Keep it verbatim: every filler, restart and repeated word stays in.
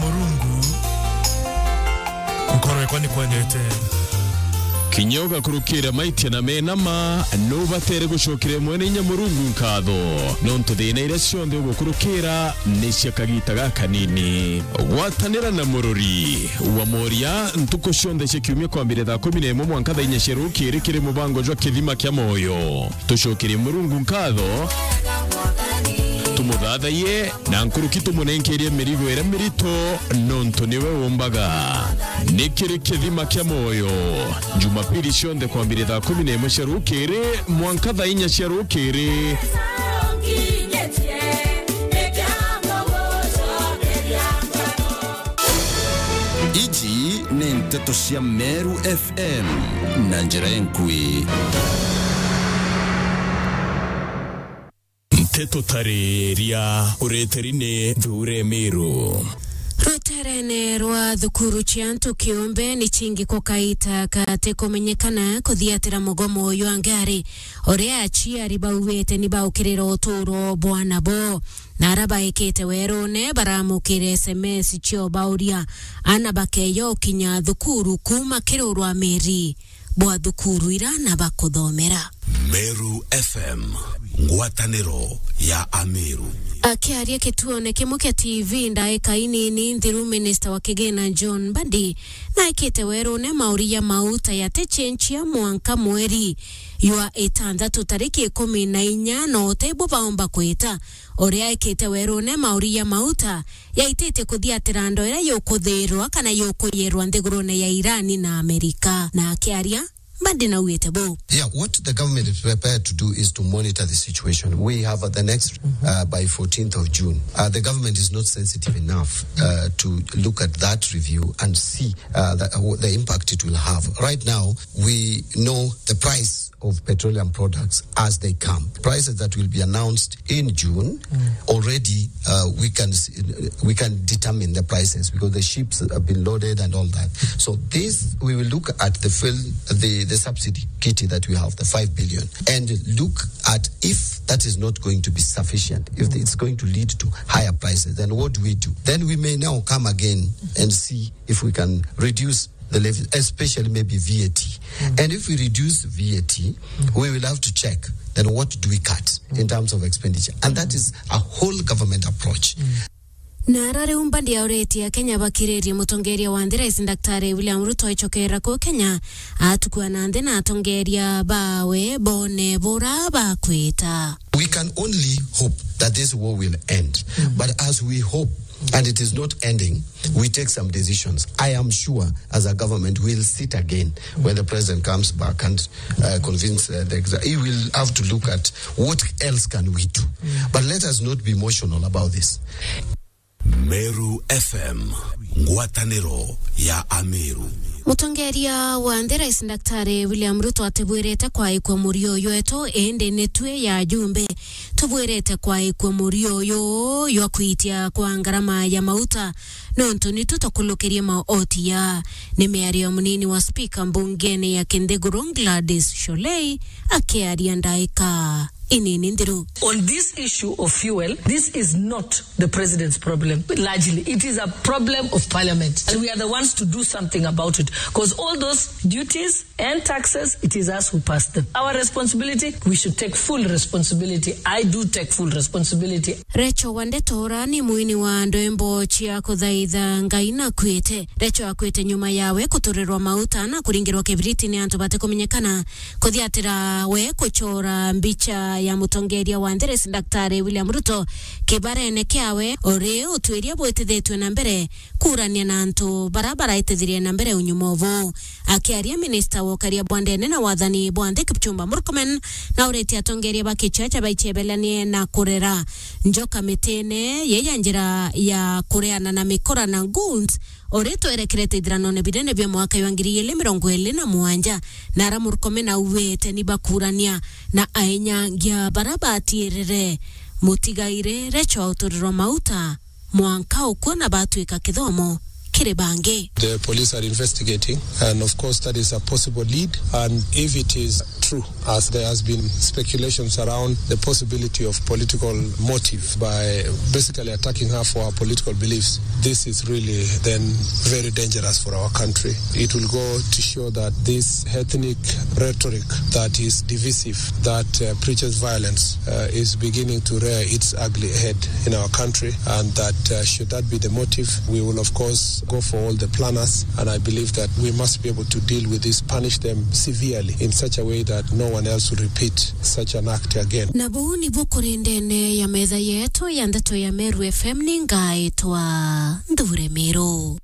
Murungu, nkoro yakwa ni kwendete. Kinya ugakurukira maitia na menama, nubatere gucokeria mwene inya Murungu nkatho, nontu thina iria cionthe ugukurukira ni cia kagita gakanini. Gwatanira na murori wa moria ntuku cionthe cia kiumia kwambire thaa kumi na imwe mwanka thaa inya cia rukiri kiri mubango jwa Kithima kia Moyo. Tucokerie Murungu nkatho, tumuthathaiye, na nkuruki tumunenkerie mirigo iria mirito, nontu niwe umbaga. Ni kiri Kithima kia Moyo, Jumapili cionthe kwambire thaa kumi na imwe cia rukiri mwanka thaa inya cia rukiri. Iji ni nteto cia Meru F M na njira enkui. Nteto tariria ureteri ni Thuure Miru. Ruterene rwa thukuru cia antu kiumbe ni chingi kukaita kati kumenyekana kuthiatira mugomo jwa ngari, uria aciari bauite ni baukirira uturo bwa nabo. Na ara baikite werune baramukire S M S cio bauria ana bakeyo kinya thukuru kuuma kiri urwamiri bwa thukuru ira na bakuthomera. Meru F M, ngwataniro ya Ameru. Akiaria kituone kimwe kia T V ndaika inini nthiru, minista wa kigina John Mbadi naikite werune mauri ya mauta yaticenchia mwanka mweri jwa itantatu tariki ikumi na inya, no utebo baomba kwita uria ekite werune mauri ya mauta yaititie kuthiatira ndoera yukuthirwa kana yukuyirwa nthigurune ya Irani na Amerika. Na akiaria, Mbadi naugite bu. Yeah, what the government is prepared to do is to monitor the situation. We have, uh, the next, uh, by fourteenth of June. Uh, the government is not sensitive enough, uh, to look at that review and see, uh, the, uh, the impact it will have. Right now, we know the price of petroleum products as they come. Prices that will be announced in June, already, uh, we can s-, we can determine the prices because the ships have been loaded and all that. So this, we will look at the fuel, the, the subsidy kitty that we have, the five billion, and look at if that is not going to be sufficient, if it's going to lead to higher prices, then what do we do? Then we may now come again and see if we can reduce the levy, especially maybe V A T. And if we reduce V A T, we will have to check then what do we cut in terms of expenditure. And that is a whole government approach. Na ara riu Mbadi auretie Akenya bakiririe mutongeria wa nthi, Rais Daktari William Ruto, aicokera ku Kenya, atukua na nthi na atongeria bawe bone bura bakwita. We can only hope that this war will end. But as we hope, and it is not ending, we take some decisions. I am sure as a government we'll sit again when the president comes back and, uh, convince, uh, the exa-, he will have to look at what else can we do. But let us not be emotional about this. Meru F M, ngwataniro ya Ameru. Mutongeria wa nthi, Rais Daktari William Ruto, atibwirite kwaikua murio jwetu, indi ni twi ya ajumbe tubwirite kwaikua murio uyu jwa kwitia kwa ngarama ya mauta, nontu nitu tukulukirie maoti ya. Ni miario ya munini wa spika mbungene ya Kinthiguru, Gladys Sholei, akiaria ndaika inini nthiru. On this issue of fuel, this is not the president's problem, largely. It is a problem of parliament. And we are the ones to do something about it. 'Cause all those duties and taxes, it is us who passed them. Our responsibility, we should take full responsibility. I do take full responsibility. Recho wa ndeto ura ni mwini wa ndwimbo cia kuthaitha Ngai nakuite. Recho akwite nyuma yawe kuturirwa mauta na kuringirwa kibiriti ni antu batikumenyekana. Kuthiatira we kuchora mbicha ya mutongeria wa nthi, Rais Daktari William Ruto, kibarene kiawe, uri utwiria bwitithitwe na mbere kuurania na antu bara baraitithirie na mbere unyuma ubu. Akiaria, minista wa ukaria bwa ndene na wathani bwa nthi, Kipchumba Murkomen, nauritie atongeria ba kichacha baichebelanie na kurera njoka mitine yei ya njira ya kureana na mikora na goons, uri twerekerete ithiranone binene bia mwaka wa ngiri igiri mirongo iri na mugwanja, na ara Murkomen auwite ni bakurania na ainyangia bara batiirire mutigaire Recho uturirwa mauta mwanka ukua na batwika kithomo kiri bangi. The police are investigating, and of course, that is a possible lead. And if it is true, as there has been speculations around the possibility of political motive by basically attacking her for her political beliefs, this is really then very dangerous for our country. It will go to show that this ethnic rhetoric that is divisive, that, uh, preaches violence, uh, is beginning to rear its ugly head in our country, and that, uh, should that be the motive, we will of course go for all the planners, and I believe that we must be able to deal with this, punish them severely in such a way that no one else will repeat such an act again. Na buu nibu kuri ndene ya metha yetu ya ndeto ya Meru F M, ni ngaitwa Nthure Miru.